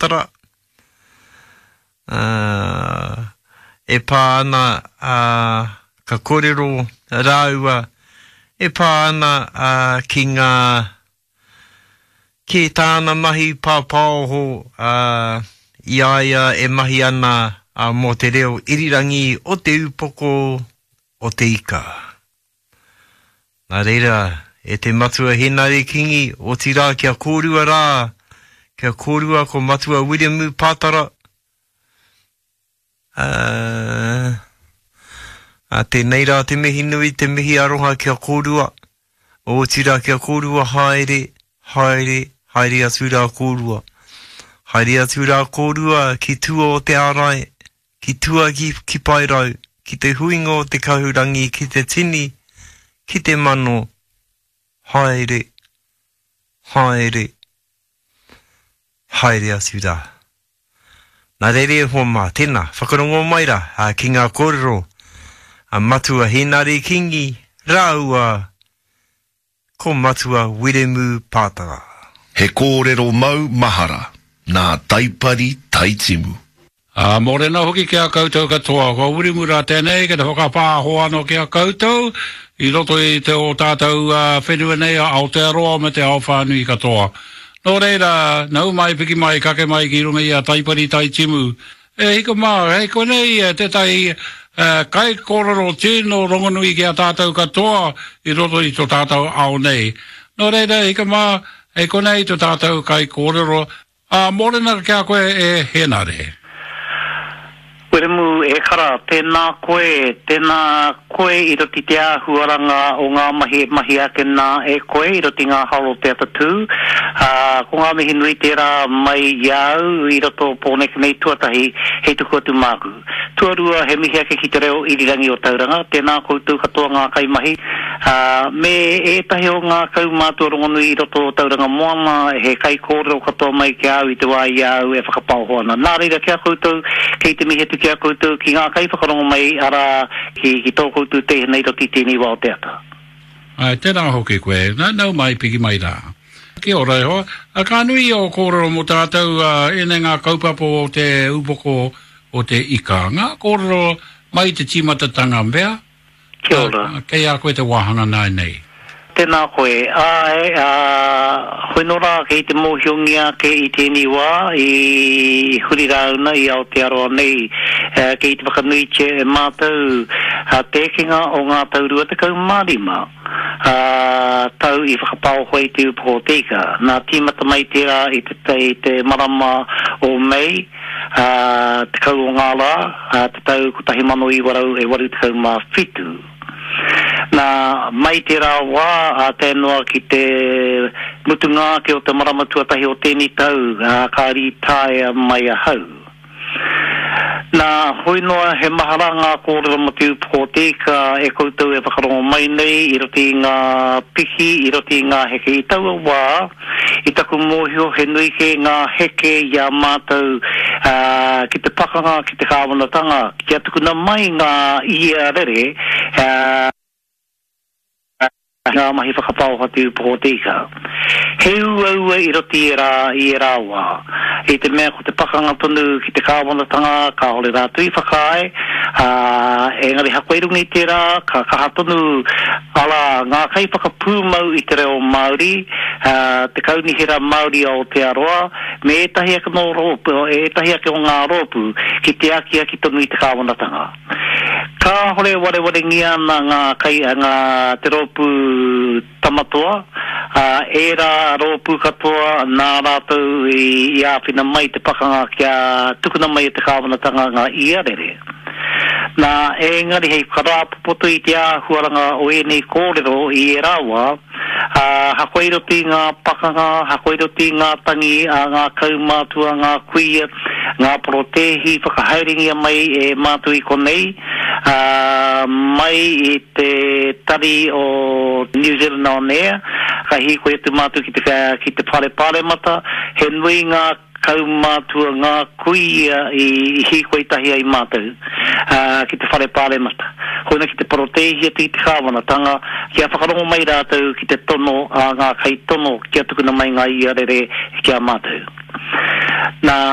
Pātara, ā, e pā ana, ā, ka kōrero rāua e pā ana, ā, ki ngā, ki tāna mahi pāpāoho, ā, i a ia e mahi ana, ā, mō te reo irirangi o Te Upoko o te Ika. Nā reira, e te Matua Henare Kingi, otirā kia kōrua rā, kia kōrua ko Matua Wiremu Pātara, ā, ā, tēnei rā te mihi nui, te mihi aroha kia kōrua, otirā kia kōrua haere, haere, haere atu rā kōrua. Haere atu rā kōrua ki tua o te ārai, ki tua ki, ki Paerau, ki te huinga o te kahurangi, ki te tini, ki te mano, haere, haere, haere atu rā. Nā reira e hoa mā, tēnā, whakarongo mai rā ki ngā kōrero a Matua Hēnare Kingi rāua Ko Matua Wiremu Pātara. He kōrero mau mahara nā Taipari Taitimu. Ā, mōrena hoki ki a koutou katoa, kua Wiremu rā tēnei ki te whakapāho anō ki a koutou i roto i te o tātou whenua nei a Aotearoa me te ao whānui katoa. Nō reira, nau mai, piki mai, kake mai ki runga i a Taipari Taitimu, E hika mā, hei konei tētahi kaikōrero tino rongonui ki a tātou katoa i roto i to tātou ao nei. Nō reira, e hika mā, hei konei to tātou kaikōrero, ā, mōrena ki a koe e Hēnare. Wiremu, E kara, tēnā koe, tēnā koe i roto i te āhuaranga o ngā mahi e mahia ake nā e koe i roto i ngā hao o te atatū, ā, ko ngā mihi nui tērā mai i a au i roto o Pōneke nei tuatahi hei tuku atu māku. Tuarua, he mihi ake ki te reo irirangi o Tauranga, tēnā koutou katoa ngā kaimahi, ā, me ētahi o ngā kaumātua rongonui i roto o Tauranga Moana, he kaikōrero katoa mai ki a au i te wā i a au e whakapaoho ana. Nā reira, ki a koutou, kei te mihi atu ki a koutou, ki ngā kaiwhakarongo mai, arā, ki, ki tō koutou teihana i roto i tēnei wā o te ata. Āe, tērā hoki koe. Nau mai, piki mai rā. Kia ora e hoa. Ka nui ō kōrero mō tātou, ēnei ngā kaupapa o te upoko o te ika. Ngā kōrero mai i te tīmatatanga mea, Kia ora. Kei a koe te wāhanga nāianei. Tēnā koe. Āe, ā, hoi nō rā kei te mōhiongia ake i tēnei wā i huri rāuna i Aotearoa nei, kei te whakanuitia e mātou te ekenga o ngā tau 25, ā, tau i whakapaoho ai te upoko o te ika. Nā, tīmata mai tērā i te, i te marama o Mei, ā, 10 o ngā rā, ā, te tau 1987. Nā, mai tērā wā, ā, tae noa ki te mutunga ake o te marama tuatahi o tēnei tau, ā, ka rītaea mai ahau. Nā, hoi noa he maha rā ngā kōrero mō te upoko o te ika e koutou e whakarongo mai nei i roto i ngā piki, i roto i ngā heke. I taua wā, i taku mōhio he nui kē ngā heke i a mātou, ā, ki te pakanga, ki te kāwanatanga, Kia tukuna mai ngā ia rere ngā mahi whakapaoha te upoko o te ika. He uaua i roto i ērā, i ērā wā. I te mea ko te pakanga tonu ki te kāwanatanga, kāore rātou i whakaae, ā, engari hakoa i runga i tērā, ka kaha tonu, arā, ngā kaiwhakapūmau i te reo Māori, ā, te Kaunihera Māori o Aotearoa, me ētahi ake nō rōpū, ētahi ake o ngā rōpū ki te akiaki tonu i te kāwanatanga. Kāhore e warewarengia ana ngā kai, ngā, te rōpū Tamatoa, ā, ērā rōpū katoa nā rātou i, i āwhina mai te pakanga kia tukuna mai e te kāwanatanga ngā iarere. Nā, engari hei whakarāpopoto i te āhuaranga o ēnei kōrero i ērā wā, Ā, hakoa i roto i ngā pakanga, hakoa i roto i ngā tangi a ngā kaumātua, ngā kuia, ngā porotēhi whakahaerengia mai e mātou i konei, ā, mai i te tari o New Zealand On Air, ka hīkoi atu mātou ki te, ki te whare pāremata, he nui ngā kaumātua, ngā kuia i hīkoi tahi ai mātou ki te whare pāremata. Koina ki te porotēhi atu i te kāwanatanga kia whakarongo mai rātou ki te tono a ngā kaitono kia tukuna mai ngā iarere ki a mātou. Nā.